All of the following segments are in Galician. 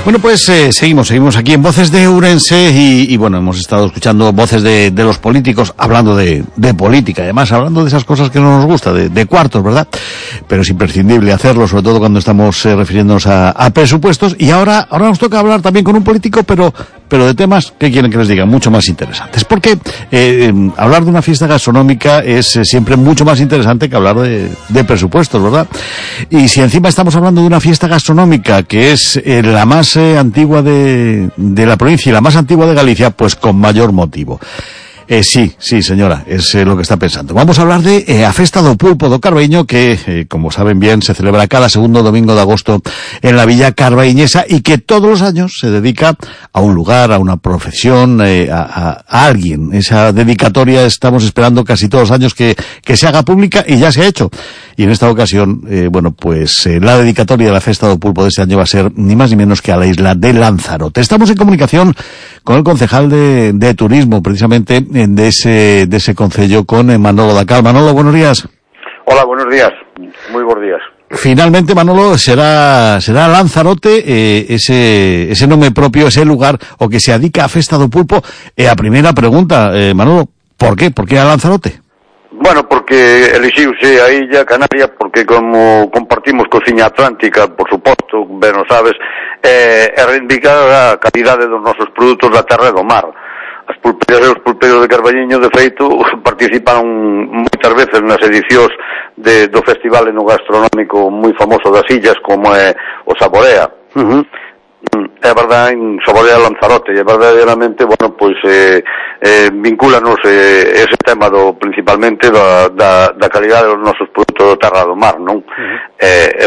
Bueno, pues seguimos aquí en Voces de Ourense y bueno, hemos estado escuchando voces de los políticos hablando de política, además hablando de esas cosas que no nos gusta, de cuartos, ¿verdad? Pero es imprescindible hacerlo, sobre todo cuando estamos refiriéndonos a presupuestos. Y ahora nos toca hablar también con un político, pero de temas que quieren que les diga mucho más interesantes. Porque hablar de una fiesta gastronómica es siempre mucho más interesante que hablar de presupuestos, ¿verdad? Y si encima estamos hablando de una fiesta gastronómica que es la más antigua de la provincia y la más antigua de Galicia, pues con mayor motivo. Sí, señora, es lo que está pensando. Vamos a hablar de a Festa do Pulpo do Carbaíño, que, como saben bien, se celebra cada segundo domingo de agosto en la Villa Carbaíñesa y que todos los años se dedica a un lugar, a una profesión, a alguien. Esa dedicatoria estamos esperando casi todos los años que se haga pública y ya se ha hecho. Y en esta ocasión, la dedicatoria de la Festa do Pulpo de este año va a ser ni más ni menos que a la isla de Lanzarote. Estamos en comunicación con el concejal de turismo, precisamente, de ese concello, con Manolo Dacal. Manolo, buenos días. Hola, buenos días. Muy buenos días. Finalmente, Manolo, será Lanzarote, ese nombre propio, ese lugar, o que se adica a Festa do Pulpo. A primera pregunta, Manolo, ¿por qué? ¿Por qué a Lanzarote? Bueno, porque elixiuse a Illa Canaria porque como compartimos cociña atlántica, por suposto, ben o sabes, reivindicar a calidade dos nosos produtos da terra e do mar. As pulpeiras e os pulpeiros de Carballiño, de feito, participaron moitas veces nas edicións do festival enogastronómico moi famoso das illas, como é o Saborea. É verdade, en Saborea Lanzarote, e verdadeiramente, bueno, pois vincúlanos ese tema principalmente da calidade dos nosos produtos da terra do mar, non?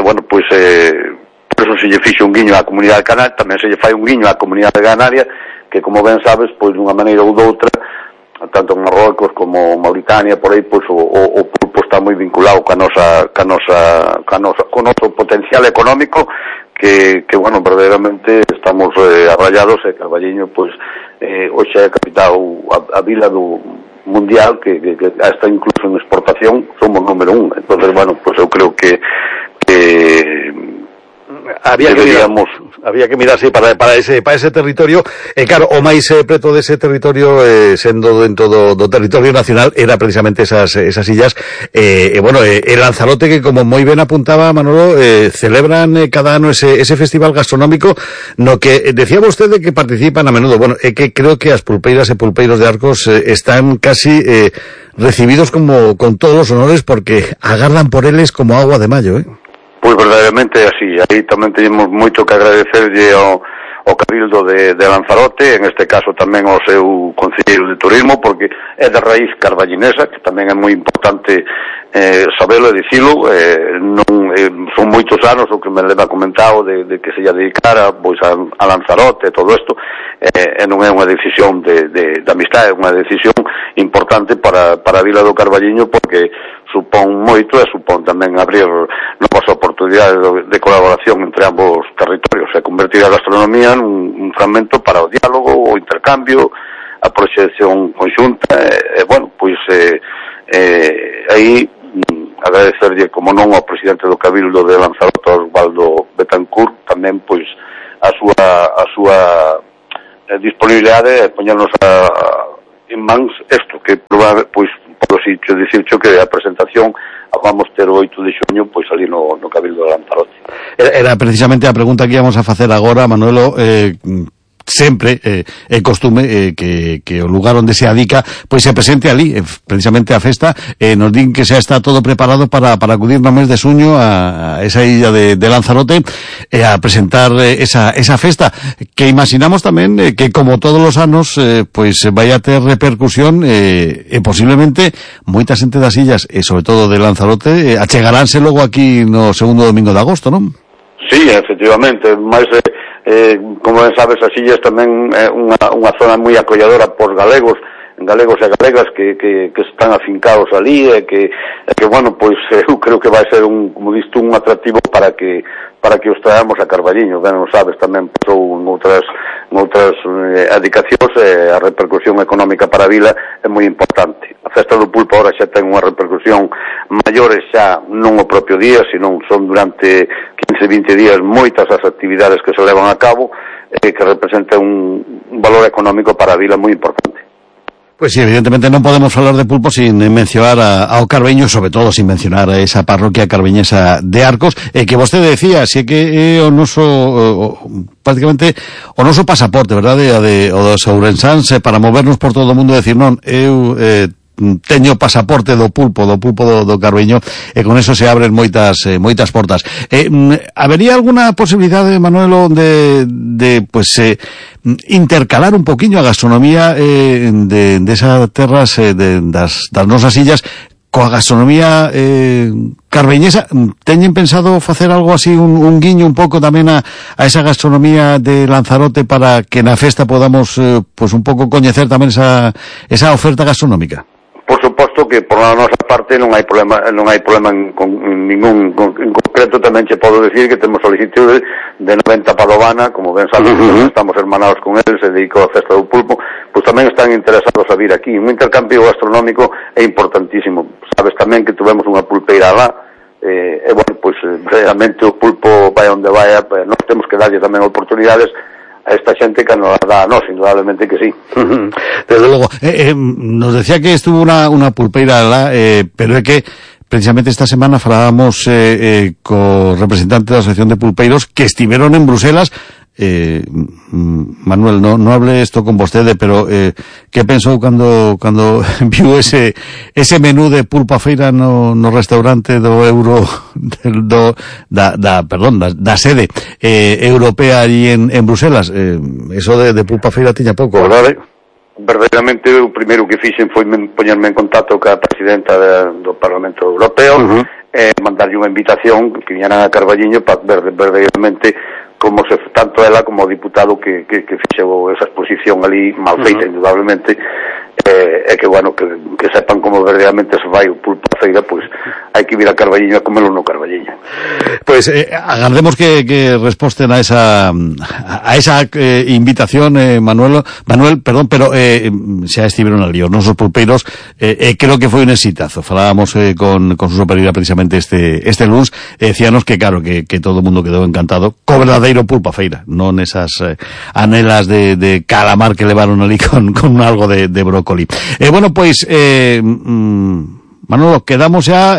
Bueno, pois por eso se lle fixe un guiño á comunidade canaria, tamén se lle fai un guiño á comunidade canaria, que como ben sabes, pois dunha maneira ou doutra, tanto en Marrocos como Mauritania, por aí, pois o pulpo está moi vinculado co noso potencial económico, que bueno, verdadeiramente estamos arraiados, e Carballiño, pois, hoxe é a capital, a vila do mundial, que hasta incluso en exportación somos número 1. Entonces, bueno, pues eu creo que había que mirarse para ese territorio, claro, o máis preto dese territorio, sendo dentro do territorio nacional, era precisamente esas illas, el Lanzarote, que como moi ben apuntaba Manolo, celebran cada ano ese festival gastronómico, no que decía vostede que participan a menudo. Bueno, que creo que as pulpeiras e pulpeiros de Arcos están casi recibidos como con todos os honores, porque agardan por eles como agua de mayo, Pois verdadeiramente é así. Aí tamén teñemos moito que agradecerlle ao Cabildo de Lanzarote, en este caso tamén ao seu concelleiro de turismo, porque é de raíz carballinesa, que tamén é moi importante sabelo e dicilo. Son moitos anos o que me leva comentado de que se lle dedicara pois a Lanzarote e todo isto, e non é unha decisión de amistade, é unha decisión importante para a vila do Carballiño, porque supón moito e supón tamén abrir novas oportunidades de colaboración entre ambos territorios e convertir a gastronomía un fragmento para o diálogo, o intercambio, a proxección conxunta, bueno, pois aí agradecerlle, como non, ao presidente do Cabildo de Lanzarote, Osvaldo Betancourt, tamén pois a súa disponibilidade e poñernos en mans isto, que pois polo sitio dicircho que a presentación a vamos ter o 8 de xuño pois ali no Cabildo de Lanzarote. Era precisamente a pregunta que íamos a facer agora, Manuelo. Sempre é costume que o lugar onde se adica pois se presente ali, precisamente a festa, nos din que xa está todo preparado para acudir no mes de xuño a esa illa de Lanzarote a presentar esa festa, que imaginamos tamén que como todos os anos pois vai a ter repercusión, e posiblemente moita xente das illas e sobre todo de Lanzarote achegaránse logo aquí no segundo domingo de agosto, non? Sí, efectivamente, máis como ben sabes, as illas tamén é unha zona moi acolladora por galegos e galegas que están afincados ali, e que bueno, pois eu creo que vai ser como diste, un atractivo para que os traemos a Carballiño. Ben, non sabes, tamén pasou en outras adicacións, a repercusión económica para a vila é moi importante. A festa do pulpo ahora xa ten unha repercusión maiores xa non o propio día, senón son durante 15-20 días moitas as actividades que se levan a cabo que representan un valor económico para a vila moi importante. Pues sí, evidentemente non podemos falar de pulpo sin mencionar ao Carbeño, sobre todo sin mencionar a esa parroquia carbeñesa de Arcos, que vostede decía, si é que o noso prácticamente o noso pasaporte, verdade, o dos ourensáns para movernos por todo o mundo, decir, non, eu teño pasaporte do pulpo do Carbeño, e con eso se abren moitas portas. Habería alguna posibilidade, Manuel, de pues intercalar un poquinho a gastronomía de esas terras das nosas illas coa gastronomía carbeñesa? Teñen pensado facer algo así, un guiño un pouco tamén a esa gastronomía de Lanzarote para que na festa podamos pues un pouco coñecer tamén esa oferta gastronómica? Por suposto que por a nosa parte non hai problema en ningún en concreto. Tamén che podo decir que temos solicitude de 90 Padovana, como ben sabes, estamos hermanados con eles, se dedicou a festa do pulpo, pois tamén están interesados a vir aquí. Un intercambio gastronómico é importantísimo. Sabes tamén que tuvemos unha pulpeira lá, e bueno, pois realmente o pulpo vai onde vai, nós temos que darlle tamén oportunidades a esta xente que nos dá a nós, indudablemente que sí. Desde logo, nos decía que estuvo unha pulpeira lá, pero é que precisamente esta semana falábamos co representante da Asociación de Pulpeiros que estiveron en Bruselas. Manuel, no hable esto con vostede, pero que pensou cando viu ese menú de pulpa feira no restaurante do Euro da sede europea allí en Bruselas? Eso de pulpa feira tiña pouco, verdade? Verdadeiramente o primeiro que fixen foi poñerme en contacto ca presidenta do Parlamento Europeo, mandarlle unha invitación que viñeran a Carballiño para ver verdadeiramente como se tanto ela como o diputado que fixou esa exposición ali mal feita, indudablemente, e que, bueno, que sepan como verdadeiramente se vai o pulpo a feira, pois hai que vir a Carballiño a comelo no Carballiño. Pois agardemos que resposten a esa invitación, Manuel, perdón, pero xa estiveron ali os nosos pulpeiros, creo que foi un exitazo. Falábamos con Suso Pereira precisamente este luns, decíanos que claro, que todo o mundo quedou encantado co verdadeiro pulpa feira, non esas anelas de calamar que levaron ali con algo de brócoli. Bueno, pois Manolo, quedamos xa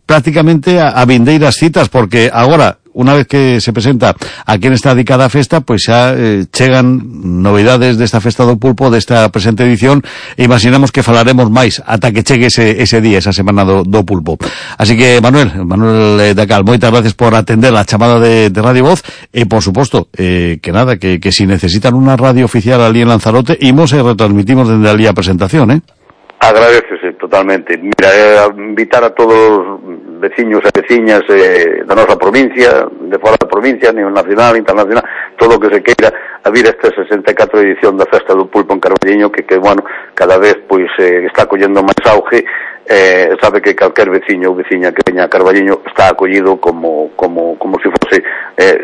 prácticamente a vindeiras citas, porque agora, unha vez que se presenta a quen está dedicada a festa, pois xa chegan novidades desta festa do pulpo, desta presente edición, e imaginamos que falaremos máis ata que chegue ese día, esa semana do pulpo. Así que, Manuel Dacal, moitas gracias por atender a chamada de Radio Voz, e por suposto, que nada, que si necesitan unha radio oficial ali en Lanzarote, imos e retransmitimos dende ali a presentación, Agradecese totalmente. Mira, invitar a todos os veciños e veciñas da nosa provincia, de fora da provincia, a nivel nacional, internacional, todo o que se queira a vir esta 64 edición da Festa do Pulpo en Carballiño, que bueno, cada vez pois está collendo máis auge. Sabe que calquer veciño ou veciña que veña a Carballiño está acollido como se fose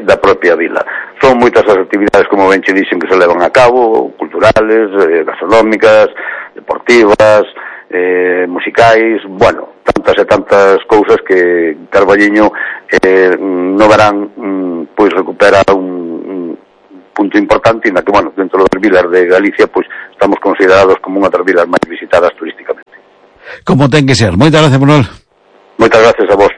da propia vila. Son moitas as actividades, como ben che dixen, que se levan a cabo, culturales, gastronómicas, deportivas, musicais, bueno, tantas e tantas cousas que Carballiño no verán pois recupera un punto importante, na que, bueno, dentro das vilas de Galicia, pois estamos considerados como unha das vilas máis visitadas turísticamente. Como ten que ser. Moitas gracias, Manuel. Moitas gracias a vos.